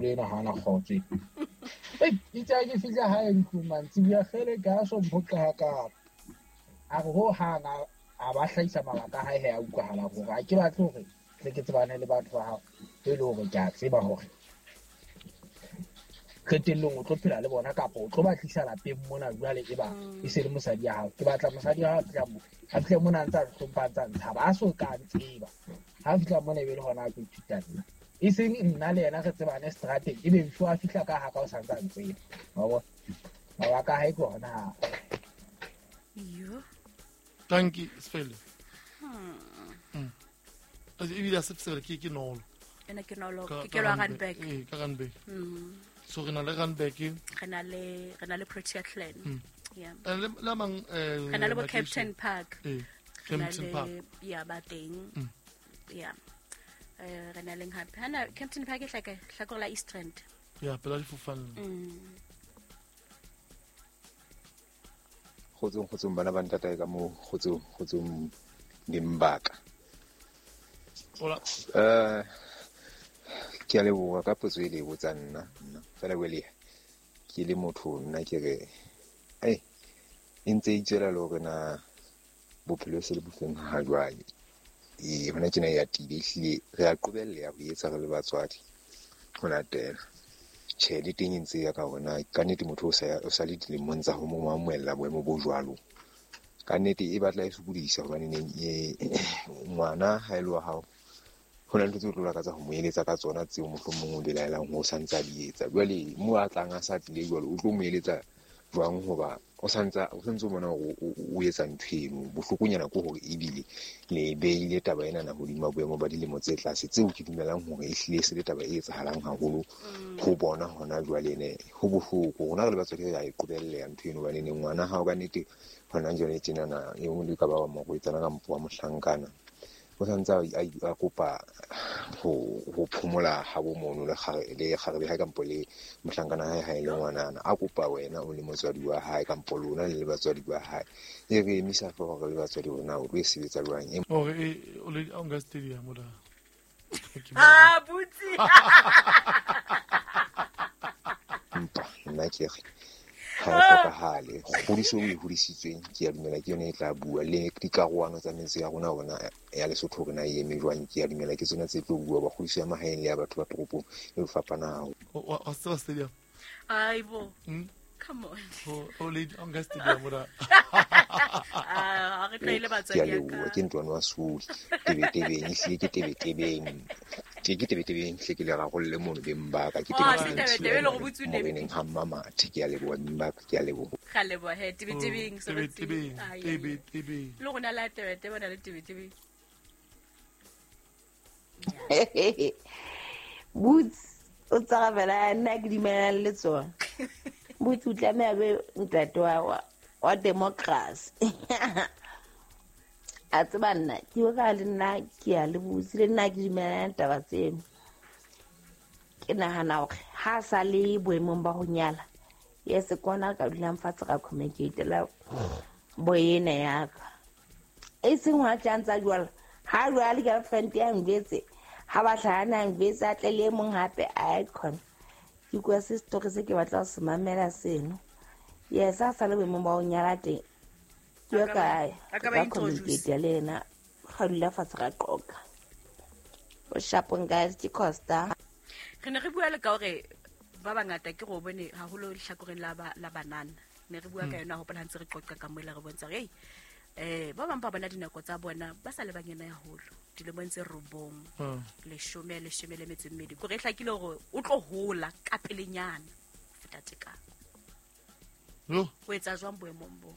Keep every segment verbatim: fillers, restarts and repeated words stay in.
Ramoholo ena ha ana kgotso. Ei, itse ha ke fihla hae ntlong mantsibuya kgele ka so mphoqa hakaalo. A re ho hang a ba hlahisa mabaka a hae he a utlwahala hore ha ke batle hore tle ke tsebane le batho ba hao e le hore ke a tseba hore qetellong o tlo phela le bona kapa o tlo ba tlisa lapeng mona jwale e ba e se le mosadi ya hao. Ke batla mosadi ya hao a fihla mo a fihle mona a ntse a hlompha a ntse a ntshaba a so ka ntseba. Ha a fihla mona e be le hona a tlo ithuta nna. E seng nna le yena re tsebane strateng ebe before a fihla ka haka o sa ntse a ntseba. Wa bona? Mabaka a hae ke hona. Yo. Thank you, Sefele. Hmm. Ebile a se Sefele ke ke nolo. Ena ke nolo ke ke lwa Randburg. Eh, ka Randburg. Mm. So re na le Randburg. Re na le re na le Protea Clan. Mm. Yeah. Le la mang eh re na le bo Captain Park. Eh, Captain Park. Yeah, ba teng. Mm. Yeah. Eh re na leng hape. Hana Captain Park e hlaka hlakore la East Rand. Yeah, pela difofane. Mm. Kgotsong kgotsong bana ba ntatae ka moo, kgotsong kgotsong dimbaka. Hola. Eh ke a leboha ka potso e le e botsang nna nna fela wele ke le motho nna ke re ei e ntse e tswela le hore na bophelo se le bofeng ha jwale. E hona tjena e atile ehlile re a qobelleha ho etsa re le batswadi ho latela. Tjhe, le teng e ntse ya ka hore na ka nnete motho o sa o sa le dilemong tsa ho mo amohela boemo bo jwalo. Ka nnete e batla e sokodisa hobane neng e ngwana ha e le wa hao ho na le ntho tseo o tlo lakatsa ho mo eletsa ka tsona tseo mohlomong o belaelang hore o sa ntse a di etsa. Jwale moo a tlang a sa tlile jwalo o tlo mo eletsa jwang hoba o sa ntsa o santse o bona hore o etsa ntho eno. Bohlokonyana ke hore ebile le beile taba ena na hodima boemo ba dilemo tse tlase tseo ke dumelang hore ehlile se le taba e etsahalang haholo ho bona hona jwale ene ho bohloko. Rona re le batswadi re a e qobelleha ntho eno hobane neng ngwana hao ka nnete hona jwale tjenana e mong le ka ba wa morwetsana kampo wa mohlankana o santse a kopa ho ho phomola ha bo mono le le kgarebe hae kampo le mohlankana hae ha e le ngwanana a kopa wena o le motswadi wa hae kampo lona le le batswadi ba hae e re emisa hlooho re le batswadi rona o tlo e sebetsa jwang e hore e o le o nka stadium o da ah butsi mpa nna ke re ha e hlokahale kgodiso o e hodisitsweng ke a dumela ke yona e tla bua le dikarohano tsa metse ya rona rona ya Lesotho hore na e eme jwang ke a dumela ke tsona tse tlo bua ba kgodiso ya mahaeng le ya batho ba toropong e fapana haholo. O tseba stadium? Aibo. Mm? Come on. O o le o nka stadium ora. Ah, re tlwaile batswadi ya ka. Ke ntwana wa Soli. Tebetebeng ehlile ke tebetebeng. Ke ke tebetebeng hle ke le rarolle mono beng ba ka ke tebetebeng. Moreneng ha mmamathe ke a leboha beng ba ka ke a leboha. Ga leboha he tebetebeng so tebetebeng tebetebeng. Le rona la tebetebe na le tebetebeng. Boots o tsarabela nna ke dumelang le tsona. Boots o tlameha be ntate wa wa democracy. A tseba nna ke ka le nna ke a le botse le nna ke dumelana taba tseno. Ke nahana hore ha sa le boemong ba ho nyala yes kona ka dulang fatshe ra communicate la boena ya ka e seng wa tla ntsa jwala ha jwale girlfriend ya ngwetse ha ba hlahana ngwetse a tle le mong hape icon ke kwa se story se ke batla ho se mamela seno. Yes a sa le boemong ba ho nyala teng ke ka a ka ba introduce le yena ga dula fatshe ra qoqa o shapong guys ke Costa. Re ne re bua le ka hore ba bangata ke go bone haholo lehlakoreng la ba la banana ne re bua ka yona hopola ha ntse re qoqa ka moela re bontsha hore eh ba bang ba bona dinako tsa bona ba sa le banyana haholo dilemong tse robong leshome leshome le metso e mmedi kore e hlakile hore o tlo hola ka pelenyana feta tekano. Yo o etsa jwang boemong bo?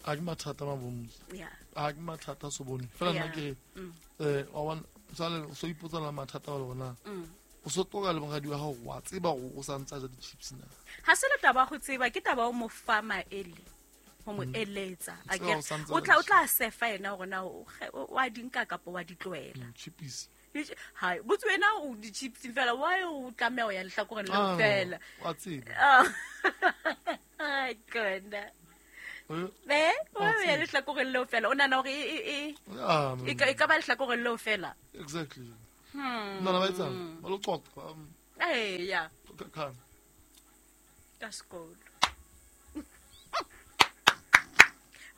A ke mathata mabomotse. Yeah. A ke mathata so bone fela nna ke eh wa bona sale so ipotsa la mathata wa bona o so toka le moradi wa hao wa tseba hore o sa ntsa ja di-chips na. Ha se le taba go tseba ke taba o mo fa maele ho mo eletsa a ke o tla o tla sefa yena hore na o wa di nka kapa wa di tlohela chips. Ha botse wena o di chips fela why o tlameha ho ya lehlakoreng le fela wa tseba. Ai kona be o ya lehlakoreng leo fela o nana hore e e e ka ba lehlakoreng leo fela exactly. Hmm. Nna ba etsang ba lo qoqa Eya. Ka ka sekolo.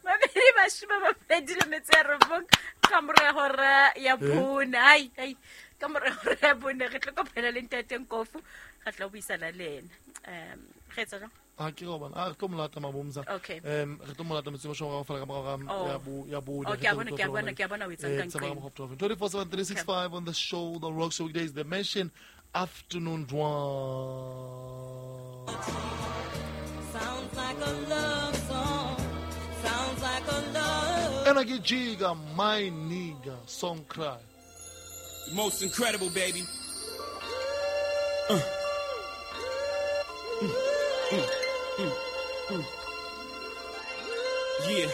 Mabedi mashome a mabedi le metso ya robong ka mora hora ya bone. Ai ai ka mora hora ya bone re tlo kopana le ntate Nkofu, re tla buisana le ena. Um re etsa jang? A ke go bona a re tlo molata mabomza. Um re tlo molata metsi mashome ga fela ka mora ya bo ya bone. Okay, a bona ke a bona ke a bona o etsang ka nqeng. twenty-four seven three six five on the show, the Rock Show weekdays, the Mansion Afternoon Drive. Sounds like a love song. Sounds like a love. And I get Jiga, my nigga, song cry. Most incredible, baby. Uh. Mm. Mm. Mm. Mm. Yeah.